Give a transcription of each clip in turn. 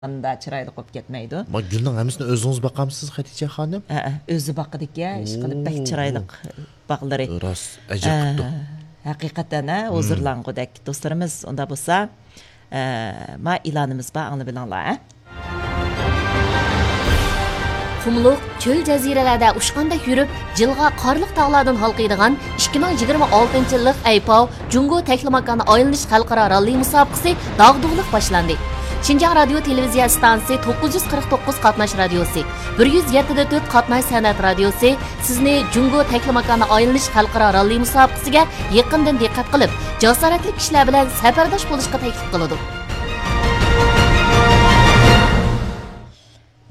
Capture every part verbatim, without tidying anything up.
ئاندا چىرايلىق بولۇپ كەتمەيدۇ. ما گۈلنىڭ ھەممىسىنى ئۆزىڭىز باقامسىز، خەدىچە خانىم؟ ھەئە، ئۆزى باقىدىكەن، ئىشقىلىپ بەك ئوو. چىرايلىق باغلىرى. راست، ئەجەب قىپتۇ. ھە، ھەقىقەتەن، ھە، مم. ھۇزۇرلانغۇدەك. دوستلىرىمىز، ئۇندا بولسا، ئە، ما ئېلانىمىز بار، ئاڭلىۋېلىڭلار، ھە؟ قۇملۇق، چۆل جەزىرىلەردە ئۇچقاندەك يۈرۈپ، جىلغا قارلىق تاغلاردىن ھالقىيدىغان ئىككى مىڭ يىگىرمە ئالتىنچى يىللىق ئەيپاۋ جۇڭگو تەكلىماكانى ئايلىنىش خەلقئارا راللى مۇسابىقىسى داغدۇغىلىق باشلاندى. شىنجاڭ رادىيو تېلېۋىزىيە ئىستانسىسى توققۇز يۈز قىرىق توققۇز قاتناش رادىيوسى، بىر يۈز يەتتە دە تۆت قاتناش سەنئەت رادىيوسى سىزنى جۇڭگو تەكلىماكانى ئايلىنىش خەلقئارا راللى مۇسابىقىسىگە يېقىندىن دىققەت قىلىپ، جاسارەتلىك كىشىلەر بىلەن سەپەرداش بولۇشقا تەكلىپ قىلىدۇ.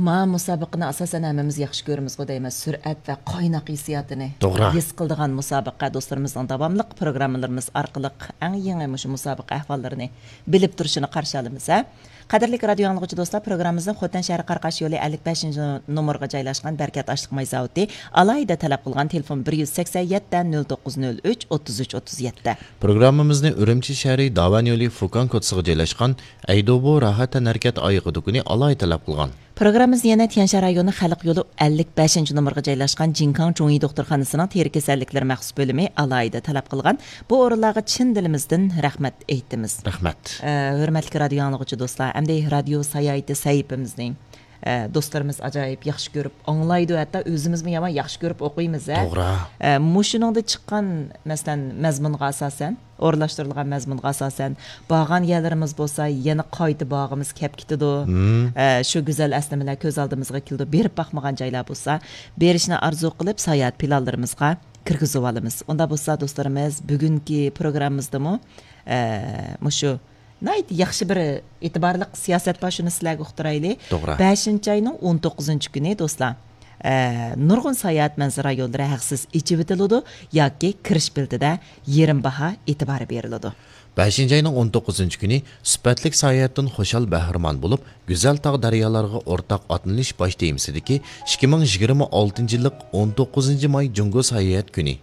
ما مۇسابىقىنى ئاساسەن ھەممىمىز ياخشى كۆرىمىزغۇ دەيمەن، سۈرئەت ۋە قايناق ھېسسىياتىنى توغرا. ھېس قىلىدىغان مۇسابىقە. دوستلىرىمىزنىڭ داۋاملىق پروگراممىلىرىمىز ئارقىلىق ئەڭ يېڭى مۇشۇ مۇسابىقە ئەھۋاللىرىنى بىلىپ تۇرۇشىنى قارشى ئالىمىز، ھە. قەدىرلىك رادىيو ئاڭلىغۇچى دوستلار، پروگراممىمىزنىڭ خوتەن شەھىرى قاراقاش يولى ئەللىك بەشىنچى نومۇرغا جايلاشقان بەرىكەت ئاشلىق ماي زاۋۇتى ئالاھىدە تەلەپ قىلغان تېلېفون بىر يۈز سەكسەن يەتتە، نۆل توققۇز نۆل ئۈچ، ئوتتۇز ئۈچ، ئوتتۇز يەتتە. پروگراممىمىزنى ئۈرۈمچى شەھىرى داۋان يولى فۇكان كوچىسىغا جايلاشقان ئەيدوبو راھەت تەنھەرىكەت ئايىغى دۇكىنى ئالاھىدە تەلەپ قىلغان. پروگراممىمىزنى يەنە تيەنشان رايونى خەلق يولى ئەللىك بەشىنچى نومۇرغا جايلاشقان جىڭكاڭ چوڭئى دوختۇرخانىسىنىڭ تېرە كېسەللىكلىرى مەخسۇس بۆلۈمى ئالاھىدە تەلەپ قىلغان. بۇ ئورۇنلارغا چىن دىلىمىزدىن رەھمەت ئېيتىمىز. رەھمەت. ئە، ھۆرمەتلىك رادىيو ئاڭلىغۇچى دوستلار، ئەمدى رادىيو ساياھىتى سەھىپىمىزنى، ئە، دوستلىرىمىز ئاجايىپ ياخشى كۆرۈپ ئاڭلايدۇ، ھەتتا ئۆزىمىزمۇ يامان ياخشى كۆرۈپ ئوقۇيمىز، ھە؟ توغرا. ئە، مۇشۇنىڭدا چىققان، مەسىلەن، مەزمۇنغا ئاساسەن، ئورۇنلاشتۇرۇلغان مەزمۇنغا ئاساسەن، بارغان يەرلىرىمىز بولسا يەنە قايتا بارغۇمىز كەپ كېتىدۇ. مم. ئە، شۇ گۈزەل ئەسلىمىلەر كۆز ئالدىمىزغا كېلىدۇ. بېرىپ باقمىغان جايلار بولسا، بېرىشنى ئارزۇ قىلىپ، ساياھەت پىلانلىرىمىزغا كىرگۈزۈۋالىمىز. ئۇنداق بولسا، دوستلىرىمىز، بۈگۈنكى پروگراممىمىزدىمۇ، ئە، مۇشۇ ناھايىتى ياخشى بىر ئېتىبارلىق سىياسەت بار، شۇنى سىلەرگە ئۇقتۇرايلى. توغرا. بەشىنچى ئاينىڭ ئون توققۇزىنچى كۈنى، دوستلار، ئە، نۇرغۇن ساياھەت مەنزىرە رايونلىرى ھەقسىز ئېچىۋېتىلىدۇ ياكى كىرىش بېلىتىدە يېرىم باھا ئېتىبارى بېرىلىدۇ. بەشىنچى ئاينىڭ ئون توققۇزىنچى كۈنى سۈپەتلىك ساياھەتتىن خۇشال بەھرىمەن بولۇپ، گۈزەل تاغ دەريالارغا ئورتاق ئاتلىنىش باش تېمىسىدىكى ئىككى مىڭ يىگىرمە ئالتىنچى يىللىق ئون توققۇزىنچى ماي جۇڭگو ساياھەت كۈنى،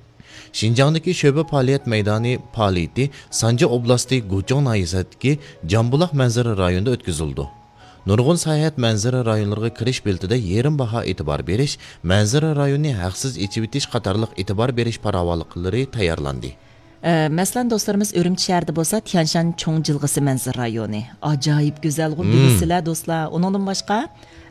شىنجاڭدىكى شۆبە پائالىيەت مەيدانى پائالىيىتى سانجى ئوبلاستى گۇچۇڭ ناھىيەسىدىكى جامبۇلاق مەنزىرە رايونىدا ئۆتكۈزۈلىدۇ. نۇرغۇن ساياھەت مەنزىرە رايونلىرىغا كىرىش بېلىتىدە يېرىم باھا ئېتىبار بېرىش، مەنزىرە رايونىنى ھەقسىز ئېچىۋېتىش قاتارلىق ئېتىبار بېرىش پاراۋانلىقلىرى تەييارلاندى. ئە، مەسىلەن، دوستلىرىمىز ئۈرۈمچى شەھىرىدە بولسا تيەنشان چوڭ جىلغىسى مەنزىرە رايونى. ئاجايىپ گۈزەلغۇ، مم. بىلىسىلەر، دوستلار. ئۇنىڭدىن باشقا،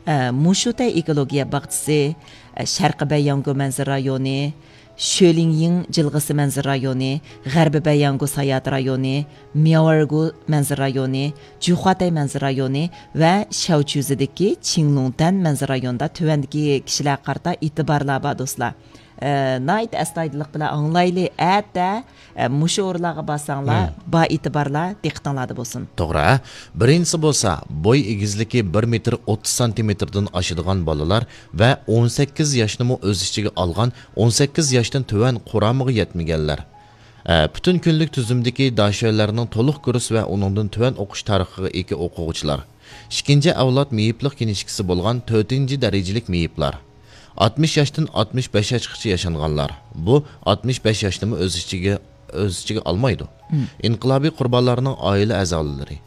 ئە، مۇشۇتەي ئېكولوگىيە باغچىسى، ئە، شەرقىي بەيياڭگۇ مەنزىرە رايونى، شۆلىڭيىڭ جىلغىسى مەنزىرە رايونى، غەربىي بەيياڭگۇ ساياھەت رايونى، مياۋەرگۇ مەنزىرە رايونى، جۈخۇاتەي مەنزىرە رايونى ۋە شياۋچۈزىدىكى چىڭلۇڭتەن مەنزىرە رايونىدا تۆۋەندىكى كىشىلەرگە قارىتا ئېتىبارلار بار، دوستلار. ئە، ناھايىتى ئەستايىدىللىق بىلەن ئاڭلايلى. ئەتە، ئە، مۇشۇ ئورۇنلارغا بارساڭلار، مم. بار ئېتىبارلار دىققىتىڭلاردا بولسۇن. توغرا. بىرىنچىسى بولسا، بوي ئېگىزلىكى بىر مېتىر ئوتتۇز سانتىمېتىردىن ئاشىدىغان بالىلار ۋە ئون سەككىز ياشنىمۇ ئۆز ئىچىگە ئالغان ئون سەككىز ياشتىن تۆۋەن قۇرامىغا يەتمىگەنلەر. ئە، پۈتۈن كۈنلۈك تۈزۈمدىكى داشۆلەرنىڭ تولۇق كۇرس ۋە ئۇنىڭدىن تۆۋەن ئوقۇش تارىخىغا ئىگە ئوقۇغۇچىلار. ئىككىنچى ئەۋلاد مېيىپلىق كىنىشكىسى بولغان تۆتىنچى دەرىجىلىك مېيىپلار. ئاتمىش ياشتىن ئاتمىش بەش ياشقىچە ياشانغانلار. بۇ ئاتمىش بەش ياشنىمۇ ئۆز ئىچىگە، ئۆز ئىچىگە ئالمايدۇ. مم. ئىنقىلابىي قۇربانلارنىڭ ئائىلە ئەزالىرى.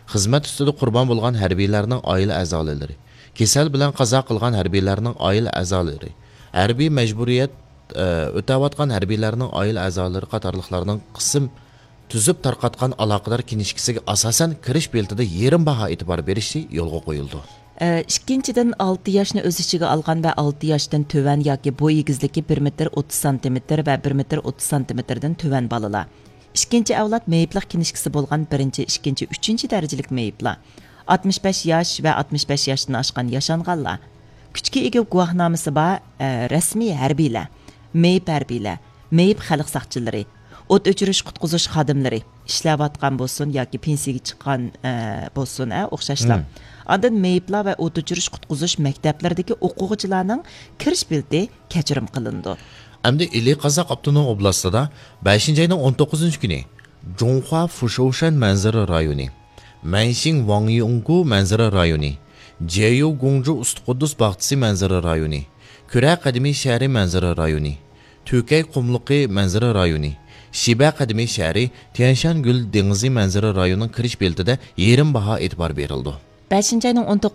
خىزمەت ئۈستىدە قۇربان بولغان ھەربىيلەرنىڭ ئائىلە ئەزالىرى. كېسەل بىلەن قازا قىلغان ھەربىيلەرنىڭ ئائىلە ئەزالىرى. ھەربىي مەجبۇرىيەت، ئە، ئۆتەۋاتقان ھەربىيلەرنىڭ ئائىلە ئەزالىرى قاتارلىقلارنىڭ قىسىم تۈزۈپ تارقاتقان ئالاقىدار كىنىشكىسىگە ئاساسەن، كىرىش بېلىتىدە يېرىم باھا ئېتىبار بېرىشى يولغا قويۇلىدۇ. ئە، ئىككىنچىدىن، ئالتە ياشنى ئۆز ئىچىگە ئالغان ۋە ئالتە ياشتىن تۆۋەن ياكى بوي ئېگىزلىكى بىر مېتىر ئوتتۇز سانتىمېتىر ۋە بىر مېتىر ئوتتۇز سانتىمېتىردىن تۆۋەن بالىلار. ئىككىنچى ئەۋلاد مېيىپلىق كىنىشكىسى بولغان بىرىنچى، ئىككىنچى، ئۈچىنچى دەرىجىلىك مېيىپلار. ئاتمىش بەش ياش ۋە ئاتمىش بەش ياشتىن ئاشقان ياشانغانلار. كۈچكە ئىگە گۇۋاھنامىسى بار، ئە، رەسمىي ھەربىيلەر، مېيىپ ھەربىيلەر، مېيىپ خەلق ساقچىلىرى، ئوت ئۆچۈرۈش قۇتقۇزۇش خادىملىرى، ئىشلەۋاتقان بولسۇن ياكى پېنسىيەگە چىققان، ئە، بولسۇن، ئە، ئوخشاشلا. مم. ئاندىن مېيىپلار ۋە ئوت ئۆچۈرۈش قۇتقۇزۇش مەكتەپلىرىدىكى ئوقۇغۇچىلارنىڭ كىرىش بېلىتى كەچۈرۈم قىلىنىدۇ. ئەمدى ئىلى قازاق ئاپتونوم ئوبلاستىدا بەشىنچى ئاينىڭ ئون توققۇزىنچى كۈنى جۇڭخۇا فۇشوۋشەن مەنزىرە رايونى، مەنشىڭ ۋاڭيۇڭگۇ مەنزىرە رايونى، جيەييۇ گۇڭجۇ ئۇستى قۇددۇس باغچىسى مەنزىرە رايونى، كۈرە قەدىمىي شەھىرى مەنزىرە رايونى، تۈكەي قۇملۇقى مەنزىرە رايونى، شىبە قەدىمىي شەھىرى، تيەنشان گۈل دېڭىزى مەنزىرە رايونىنىڭ كىرىش بېلىتىدە يېرىم باھا ئېتىبار بېرىلىدۇ. بەشىنچى ئاينىڭ ئون توققۇزىنچى